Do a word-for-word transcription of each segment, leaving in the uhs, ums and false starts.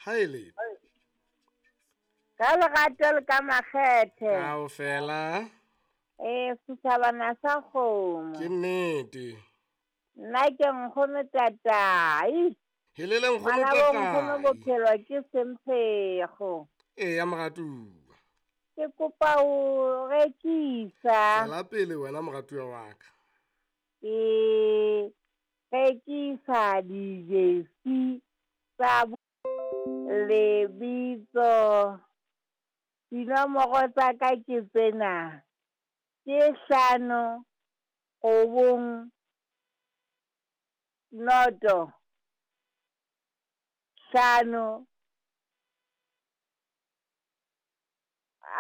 Haele. Ka lerato le ka makgethe. Kaofela. Eh, setjhabana sa kgomo. Ke nnete. Nna ke nkgono tatai. Helele nkgono Ngwana bo nkgono tatai. bophelo ke semphego. Eya moratuwa. Ke kopa ho rekisa. Tswela pele wena moratuwa wa ka. Ke rekisa dijesi tsa lebitso. Dinomoro tsa ka ke tsena. Ke hlano robong noto hlano.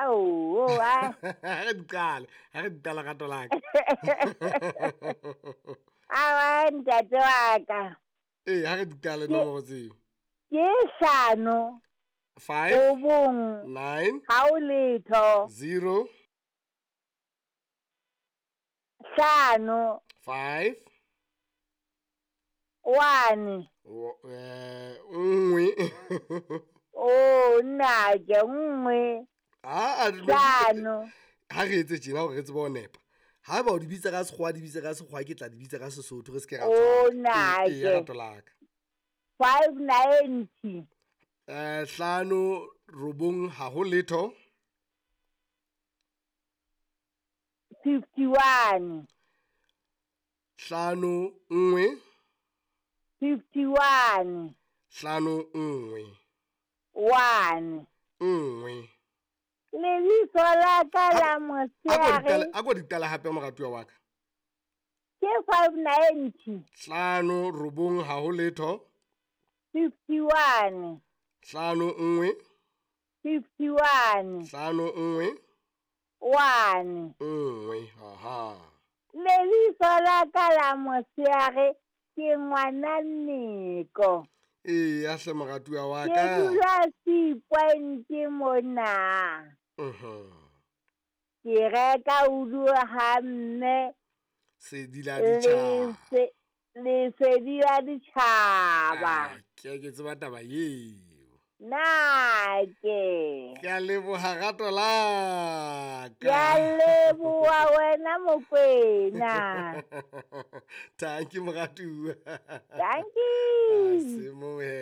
Aowa. Ha re di qale, ha re di qale rato la ka. Awa ntate wa ka. Ee, ha re di qale nomoro tseo. Ke hlano Five robong nine ha o letho zero hlano five one o- eh, nngwe. Oh nnake nngwe Ah, ah, hlano. Ha re etse tjena hore re tsebe ho nepa. Haeba o di bitsa ka sekgowa, di bitse ka sekgowa, ke tla di bitsa ka Sesotho, re se ke ra Oh, tswaka. nnake. Ee, ee, rato la ka. Five ninety. Eh, hlano robong ha ho letho. Fifty one. Hlano nngwe. Fifty one. Hlano nngwe. One. Nngwe. Lebitso la ka la A ko di motshehare. qale, a ko di qale hape moratuwa wa ka. Ke five ninety. Hlano robong ha ho letho. Fifty one. Hlano nngwe. Fifty one. Hlano nngwe. One. Nngwe. Aha. Lebitso la ka la motshehare ke ngwana Nneko. Eya hle moratuwa wa Ke ka. dula Sea Point mona. Mhm. Ke reka udu ha mme Sedi la ditjhaba. lese- lesedi la ditjhaba. Ah, ke ke tseba taba eo. Nake. Ke a leboha rato la Ke a ka. leboha wena Mokwena. Thank you moratuwa. Thank you. Semohe.